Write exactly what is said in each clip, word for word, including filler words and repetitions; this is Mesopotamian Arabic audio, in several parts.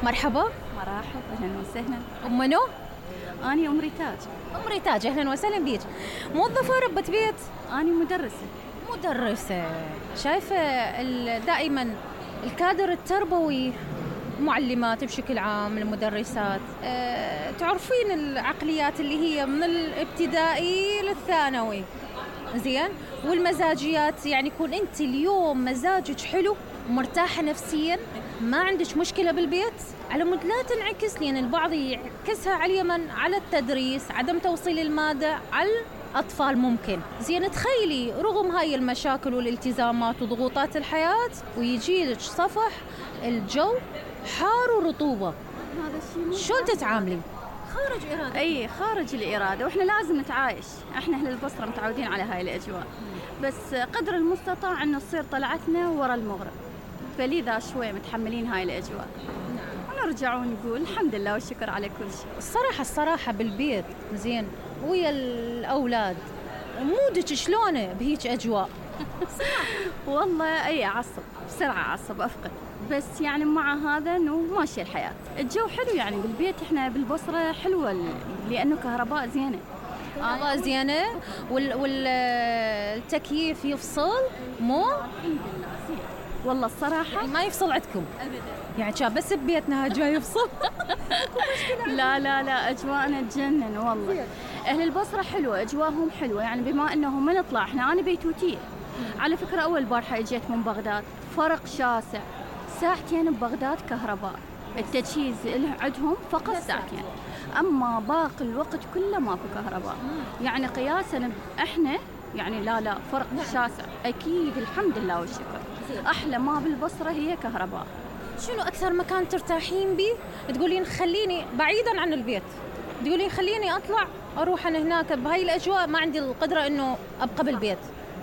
مرحبا. مرحبا، أهلا وسهلا. أم منو؟ أنا أم ريتاج. أم ريتاج، أهلا وسهلا بيك. موظفة ربة بيت؟ أنا مدرسة. مدرسة. شايفة دائما الكادر التربوي، معلمات بشكل عام، المدرسات، أه تعرفين العقليات اللي هي من الابتدائي للثانوي، زين، والمزاجيات، يعني يكون أنت اليوم مزاجك حلو ومرتاحة نفسيا، ما عندك مشكلة بالبيت، على مود لا تنعكس، لأن البعض يعكسها على اليمن، على التدريس، عدم توصيل المادة على الأطفال ممكن. زين، تخيلي رغم هاي المشاكل والالتزامات وضغوطات الحياة ويجيلك صفح الجو حار ورطوبة، هذا الشيء شلون تتعاملين؟ خارج إرادة. أي خارج الإرادة، وإحنا لازم نتعايش. إحنا أهل البصرة متعودين على هاي الأجواء، بس قدر المستطاع أن تصير طلعتنا ورا المغرب، فلذا شوي متحملين هاي الأجواء. ونرجع ونقول الحمد لله والشكر على كل شيء. الصراحة الصراحة بالبيت زين ويا الأولاد، مودك شلونه بهيج أجواء؟ والله أي عصب بسرعة، عصب أفقد، بس يعني مع هذا إنه ماشي الحياة. الجو حلو يعني بالبيت، إحنا بالبصرة حلوة لأنه كهرباء زينة. كهرباء زينة والتكييف يفصل مو؟ والله الصراحة ما يفصل عندكم أبدا، يعني شاب بس ببيتنا جاي يفصل. لا لا لا، أجواءنا تجنن والله. أهل البصرة حلوة، أجواءهم حلوة، يعني بما أنهم ما نطلع إحنا. أنا بيتوتية على فكرة، أول بارحة اجيت من بغداد، فرق شاسع، ساعتين ببغداد كهرباء، التجهيز عندهم فقط ساعتين، أما باقي الوقت كله ما في كهرباء. يعني قياسا إحنا يعني لا لا فرق شاسع أكيد، الحمد لله والشكر. أحلى ما بالبصرة هي كهرباء. شنو أكثر مكان ترتاحين بيه؟ تقولين خليني بعيدا عن البيت، تقولين خليني أطلع أروح أنا هناك بهاي الأجواء، ما عندي القدرة إنه أبقى بالبيت،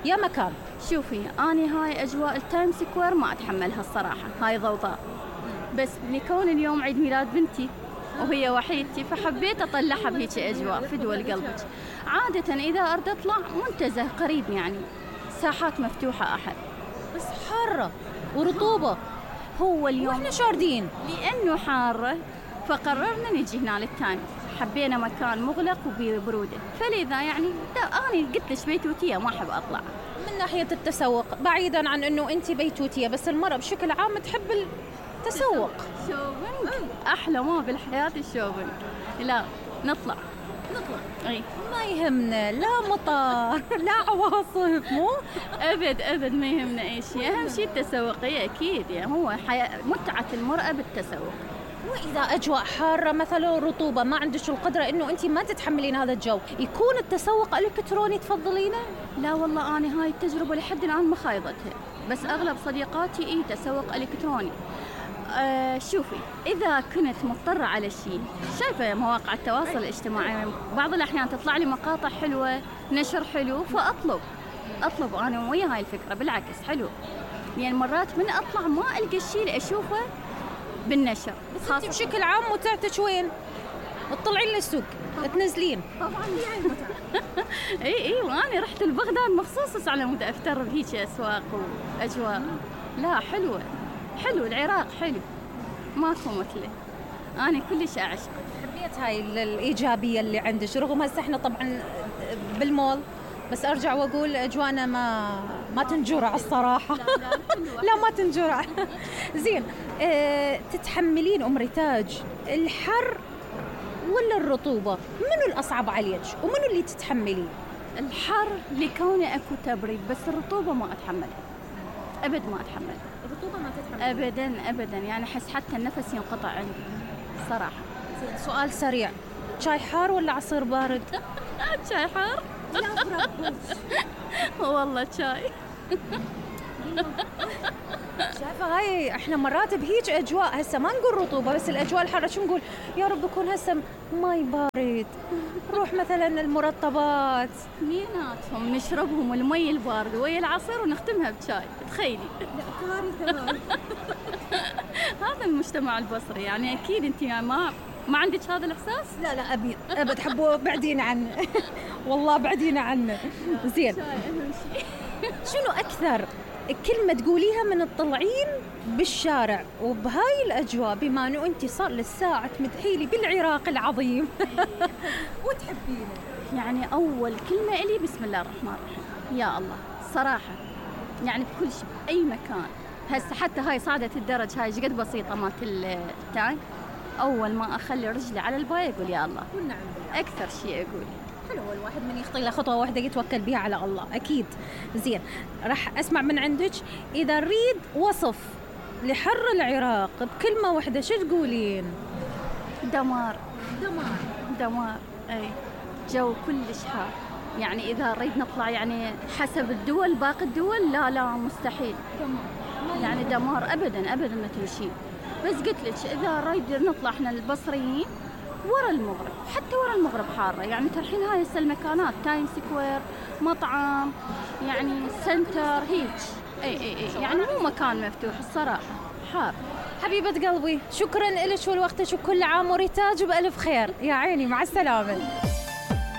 يا مكان. شوفي، أنا هاي أجواء التايم سكوير ما أتحملها الصراحة، هاي ضوضاء، بس لكون اليوم عيد ميلاد بنتي وهي وحيدتي فحبيت أطلعها بهيك أجواء فدوى لقلبك. عادة إذا أرد أطلع منتزه قريب، يعني ساحات مفتوحة أحد، بس حارة ورطوبة. هو اليوم وإحنا شاردين لأنه حارة فقررنا نجي هنا للتاني، حبينا مكان مغلق وبرودة، فلذا يعني أنا قلت لش بيتوتية ما أحب أطلع. من ناحية التسوق، بعيدا عن أنه أنت بيتوتية، بس المرأة بشكل عام تحب التسوق. شوبينج أحلى ما بالحياة الشوبينج. لا نطلع نطلع أي ما يهمنا لا مطار لا عواصف، مو أبد أبد ما يهمنا أي شيء، أهم شيء التسوقية أكيد، يعني هو حياة متعة المرأة بالتسوق. وإذا أجواء حارة مثلا رطوبة ما عندك القدرة إنه أنت ما تتحملين هذا الجو، يكون التسوق الإلكتروني تفضلينه؟ لا والله أنا هاي التجربة لحد الآن ما خايضتها، بس أغلب صديقاتي إيه تسوق إلكتروني. آه شوفي، إذا كنت مضطرة على شيء، شايفة مواقع التواصل الاجتماعي بعض الأحيان تطلع لي مقاطع حلوة، نشر حلو، فأطلب أطلب أنا ويا هاي الفكرة، بالعكس حلو، يعني مرات من أطلع ما ألقى الشيء اللي أشوفه بالنشر. بس أنت بشكل عام متعتك وين؟ تطلعين للسوق تنزلين؟ طبعا هي هاي المتعة. اي اي وانا رحت لبغداد مخصوص على مود افتر بهيك اسواق واجواء. لا حلوة حلو، العراق حلو ماكو مثله، انا كلش اعشق. حبيت هاي الايجابية اللي عندك، رغم هسه احنا طبعا بالمول، بس ارجع واقول اجوانا ما ما تنجرع الصراحه. لا, لا, لا ما تنجرع. زين، اه تتحملين ام ريتاج الحر ولا الرطوبه؟ منو الاصعب عليك ومنو اللي تتحمليه؟ الحر لكونه اكو تبريد، بس الرطوبه ما اتحملها ابد، ما اتحمل الرطوبه ما تتحمل ابدا ابدا، يعني احس حتى النفس ينقطع عندي صراحه. زين، سؤال سريع، شاي حار ولا عصير بارد؟ شاي حار. والله شاي. شايفة هاي احنا مرات بهيج اجواء، هسه ما نقول رطوبة بس الاجواء الحارة شو نقول؟ يا رب يكون هسه ماي بارد، نروح مثلا المرطبات ميناتهم نشربهم المي البارد ويا العصير ونختمها بشاي، تخيلي. لا كارثة. هذا المجتمع البصري، يعني اكيد انت ما ما عندك هذا الاحساس؟ لا لا ابي ابد حبوا بعدين عنه. والله بعدين عنه. زين، شنو اكثر كلمة تقوليها من تطلعين بالشارع وبهاي الأجواء، بما أنه أنت صار للساعة تمدحي لي بالعراق العظيم وتحبينه. يعني أول كلمة إلي بسم الله الرحمن الرحيم، يا الله صراحة، يعني بكل شيء بأي مكان. هسه حتى هاي صعدة الدرج هاي جد بسيطة مالت التانك، أول ما أخلي رجلي على الباي أقول يا الله. والنعم أكثر شيء أقول حلو الواحد من يخطي له خطوة واحدة يتوكل بها على الله. أكيد. زين، راح أسمع من عندك إذا نريد وصف لحر العراق بكلمة واحدة شو تقولين؟ دمار. دمار. دمار. أي جو كلش حار، يعني إذا نريد نطلع يعني حسب الدول باقي الدول لا لا مستحيل. دمار. يعني دمار أبدا أبدا ما تمشي. بس قلت لك إذا نريد نطلع إحنا البصريين ورا المغرب، حتى ورا المغرب حارة، يعني ترحين هاي هسه المكانات تايم سكوير، مطعم، يعني سنتر هيك. اي اي اي يعني مو مكان مفتوح الصراحة، حار. حبيبة قلبي شكرا لك ولوقتك، وكل عام وريتاج بألف خير. يا عيني مع السلامة.